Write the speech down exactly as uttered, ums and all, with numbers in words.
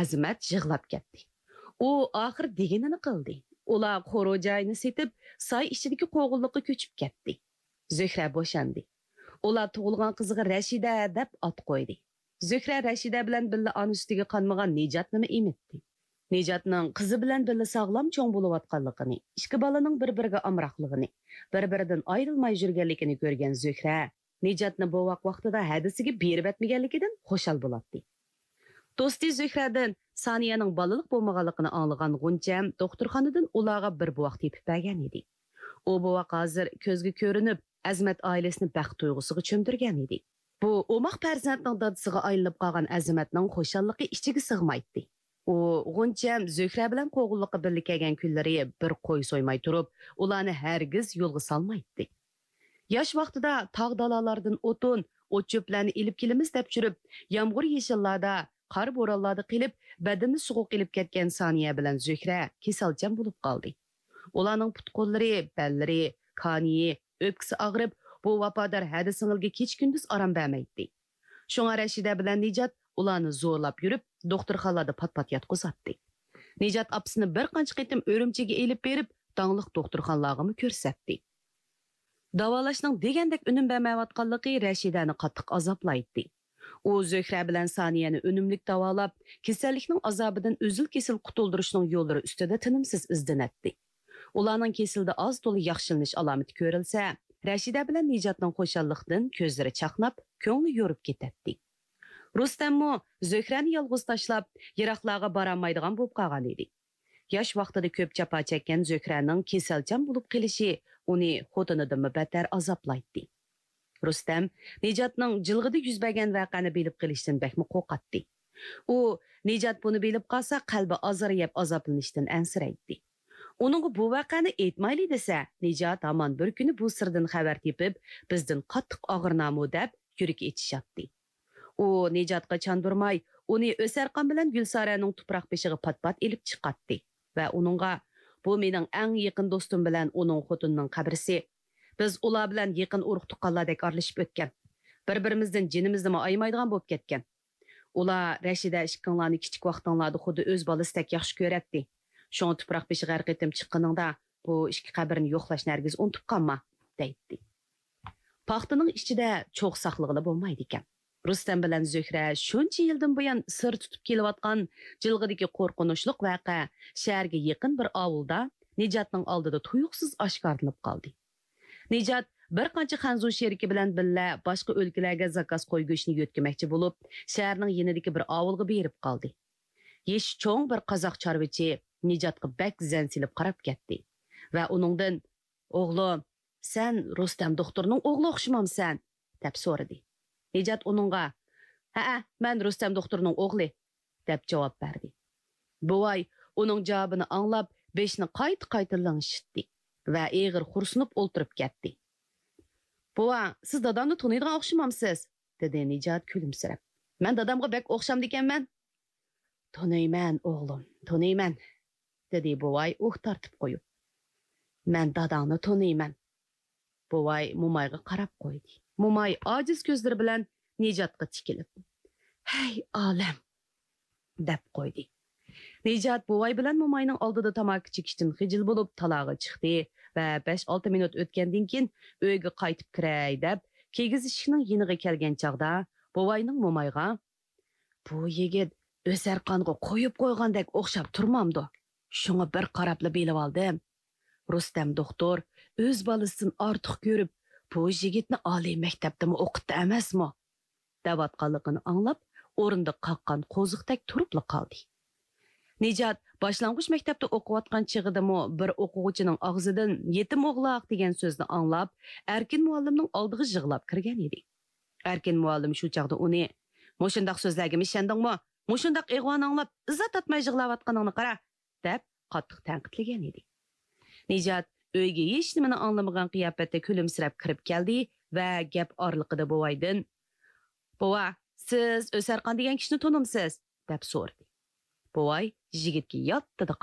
ئەزىمەت يىغلاپ كەتتى. ئۇ ئاخىر دېگىنىنى قىلدى. ئۇلار قورۇ جايىنى سېتىپ، ساي ئىچىدىكى قوغۇنلۇققا كۆچۈپ كەتتى. زۆھرە بوشاندى. ئۇلار تۇغۇلغان قىزىغا رەشىدە دەپ ئات قويدى. زۆھرە رەشىدە بىلەن بىللە ئانا سۈتىگە قانمىغان نىجاتنىمۇ ئېمىتتى. نىجاتنىڭ قىزى بىلەن بىللە ساغلام چوڭ بولۇۋاتقانلىقىنى، ئىككى بالىنىڭ بىر-بىرىگە ئامراقلىقىنى، بىر-بىرىدىن ئايرىلماي يۈرگەنلىكىنى كۆرگەن زۆھرە نىجاتنى بوۋاق ۋاقتىدا ھەدىسىگە بېرىۋەتمىگەنلىكىدىن خۇشال بولاتتى. دوستى زۆھرەدىن سانىيەنىڭ بالىلىق بولمىغانلىقىنى ئاڭلىغان غۇنچەم دوختۇرخانىدىن ئۇلارغا بىر بوۋاق تېپىپ بەرگەن ئىدى. ئۇ بوۋاق ھازىر كۆزگە كۆرۈنۈپ، ئەزىمەت ئائىلىسىنى بەخت تۇيغۇسىغا چۆمدۈرگەن ئىدى. بۇ ئوماق پەرزەنتنىڭ دادىسىغا ئايلىنىپ قالغان ئەزىمەتنىڭ خۇشاللىقى ئىچىگە سىغمايتتى. ئۇ غۇنچەم زۆھرە بىلەن قوغۇنلۇققا بىللە كەلگەن كۈنلىرى بىر قوي سويماي تۇرۇپ، ئۇلارنى ھەرگىز يولغا سالمايتتى. ياش ۋاقتىدا تاغ-دالالاردىن ئوتۇن، ئوت-چۆپلەرنى ئېلىپ كېلىمىز دەپ يۈرۈپ، يامغۇر-يېشىللاردا، قار-بورانلاردا قېلىپ، بەدىنىنى سوغۇق ئېلىپ كەتكەن سانىيە بىلەن زۆھرە كېسەلچان بولۇپ قالدى. ئۇلارنىڭ پۇت-قوللىرى، بەللىرى، كانىيى، ئۆپكىسى ئاغرىپ، بۇ ۋاپادار ھەدە سىڭىلگە كېچە-كۈندۈز ئارام بەرمەيتتى. شۇڭا رەشىدە بىلەن نىجات ئۇلارنى زورلاپ يۈرۈپ، دوختۇرخانىلاردا پات-پات ياتقۇزاتتى. نىجات ئاپىسىنى بىر قانچە قېتىم ئۈرۈمچىگە ئېلىپ بېرىپ، داڭلىق دوختۇرخانىلارغىمۇ كۆرسەتتى. داۋالاشنىڭ دېگەندەك ئۈنۈم بەرمەيۋاتقانلىقى رەشىدەنى قاتتىق ئازابلايتتى. ئۇ زۆھرە بىلەن سانىيەنى ئۈنۈملۈك داۋالاپ، كېسەللىكنىڭ ئازابىدىن ئۈزۈل-كېسىل قۇتۇلدۇرۇشنىڭ يوللىرى ئۈستىدە تىنىمسىز ئىزدىنەتتى. ئۇلارنىڭ كېسىلىدە ئاز-تولا ياخشىلىنىش ئالامىتى كۆرۈلسە، رەشىدە بىلەن نىجاتنىڭ خۇشاللىقتىن كۆزلىرى چاقناپ، كۆڭلى يورۇپ كېتەتتى. رۇستەممۇ زۆھرەنى يالغۇز تاشلاپ، يىراقلارغا بارالمايدىغان بولۇپ قالغان ئىدى. ياش ۋاقتىدا كۆپ جاپا چەككەن زۆھرەنىڭ كېسەلچان بولۇپ قېلىشى ئۇنى خوتۇنىدىنمۇ بەتتەر ئازابلايتتى. رۇستەم نىجاتنىڭ جىلغىدا يۈز بەرگەن ۋەقەنى بىلىپ قېلىشتىن بەكمۇ قورقاتتى. ئۇ نىجات بۇنى بىلىپ قالسا، قەلبى ئازار يەپ ئازابلىنىشتىن ئەنسىرەيتتى. ئۇنىڭغا بۇ ۋەقەنى ئېيتمايلى دېسە، نىجات ھامان بىر كۈنى بۇ سىردىن خەۋەر تېپىپ، بىزدىن قاتتىق ئاغرىنارمۇ دەپ يۈرىكى ئېچىشاتتى. ئۇ نىجاتقا چاندۇرماي، ئۇنى ئۆسەرخان بىلەن گۈلسارەنىڭ تۇپراق بېشىغا پات-پات ئېلىپ چىقاتتى ۋە ئۇنىڭغا، بۇ مېنىڭ ئەڭ يېقىن دوستۇم بىلەن ئۇنىڭ خوتۇنىنىڭ قەبرىسى. بىز ئۇلار بىلەن يېقىن ئۇرۇق-تۇغقانلاردەك ئارىلىشىپ ئۆتكەن. بىر-بىرىمىزدىن جېنىمىزنىمۇ ئايىمايدىغان بولۇپ كەتكەن. ئۇلار رەشىدە ئىككىڭلارنى كىچىك ۋاقتىڭلاردا خۇددى ئۆز بالىسىدەك ياخشى كۆرەتتى. شۇڭا تۇپراق بېشىغا ھەر قېتىم چىققىنىڭدا، بۇ ئىككى قەبرىنى يوقلاشنى ھەرگىز ئۇنتۇپ قالما، دەيتتى. پاختىنىڭ ئىچىدە چوغ ساقلىغىلى بولمايدىكەن. رۇستەم بىلەن زۆھرە شۇنچە يىلدىن بۇيان سىر تۇتۇپ كېلىۋاتقان جىلغىدىكى قورقۇنچلۇق ۋەقە شەھەرگە يېقىن بىر ئاۋۇلدا نىجاتنىڭ ئالدىدا تۇيۇقسىز ئاشكارىلىنىپ قالدى. نىجات بىر قانچە خەنزۇ شېرىكى بىلەن بىللە باشقا ئۆلكىلەرگە زاكاز قوي گۆشىنى يۆتكىمەكچى بولۇپ، شەھەرنىڭ يېنىدىكى بىر ئاۋۇلغا بېرىپ قالدى. يېشى چوڭ بىر قازاق چارۋىچى نىجاتقا بەك زەن سېلىپ قاراپ كەتتى ۋە ئۇنىڭدىن، «ئوغلۇم، سەن رۇستەم دوختۇرنىڭ ئوغلى ئوخشىمامسەن؟» دەپ سورىدى. نىجات ئۇنىڭغا، «ھەئە، مەن رۇستەم دوختۇرنىڭ ئوغلى» دەپ جاۋاب بەردى. بوۋاي ئۇنىڭ جاۋابىنى ئاڭلاپ، بېشىنى قايتا-قايتا لىڭشىتتى ۋە ئېغىر خورسىنىپ ئولتۇرۇپ كەتتى. «بوۋا، سىز دادامنى تونۇيدىغان ئوخشىمامسىز؟» دېدى نىجات كۈلۈمسىرەپ. «مەن دادامغا بەك ئوخشامدىكەنمەن؟» «تونۇيمەن، ئوغلۇم، تونۇيمەن»، دېدى بوۋاي ئۇھ تارتىپ قويۇپ. «مەن داداڭنى تونۇيمەن.» بوۋاي مومايغا قاراپ قويدى. موماي ئاجىز كۆزلىرى بىلەن نىجاتقا تىكىلىپ، «ھەي، ئالەم!» دەپ قويدى. نىجات بوۋاي بىلەن موماينىڭ ئالدىدا تاماكا چېكىشتىن خىجىل بولۇپ، تالاغا چىقتى ۋە بەش-ئالتە مىنۇت ئۆتكەندىن كېيىن، «ئۆيگە قايتىپ كىرەي» دەپ، كىگىز ئىشىكنىڭ يېنىغا كەلگەن چاغدا، بوۋاينىڭ مومايغا، «بۇ يىگىت ئۆسەرخانغا قويۇپ قويغاندەك ئوخشاپ تۇرمامدۇ؟ شۇڭا بىر قاراپلا بىلىۋالدىم. رۇستەم دوختۇر ئۆز بالىسىدىن ئارتۇق كۆرۈپ، بۇ يىگىتنى ئالىي مەكتەپتىمۇ ئوقۇتتى ئەمەسمۇ؟» دەۋاتقانلىقىنى ئاڭلاپ، ئورنىدا قاققان قوزۇقتەك تۇرۇپلا قالدى. نىجات باشلانغۇچ مەكتەپتە ئوقۇۋاتقان چېغىدىمۇ بىر ئوقۇغۇچىنىڭ ئاغزىدىن «يېتىم ئوغلاق» دېگەن سۆزنى ئاڭلاپ، ئەركىن مۇئەللىمنىڭ ئالدىغا يىغلاپ كىرگەن ئىدى. ئەركىن مۇئەللىم شۇ چاغدا ئۇنى، «مۇشۇنداق سۆزلەرگىمۇ ئىشەندىڭمۇ؟ مۇشۇنداق ئىغۋانى ئاڭلاپ، ئىزا تاپماي يىغلاۋاتقىنىڭنى قارا!» دەپ قاتتىق تەنقىدلىگەن ئىدى. نىجات ئۆيگە ھېچنېمىنى ئاڭلىمىغان قىياپەتتە كۈلۈمسىرەپ كىرىپ كەلدى ۋە گەپ ئارىلىقىدا بوۋايدىن، «بوۋا، سىز ئۆسەرخان دېگەن كىشىنى تونۇمسىز؟» دەپ سورىدى. بوۋاي يىگىتكە ياتتىدە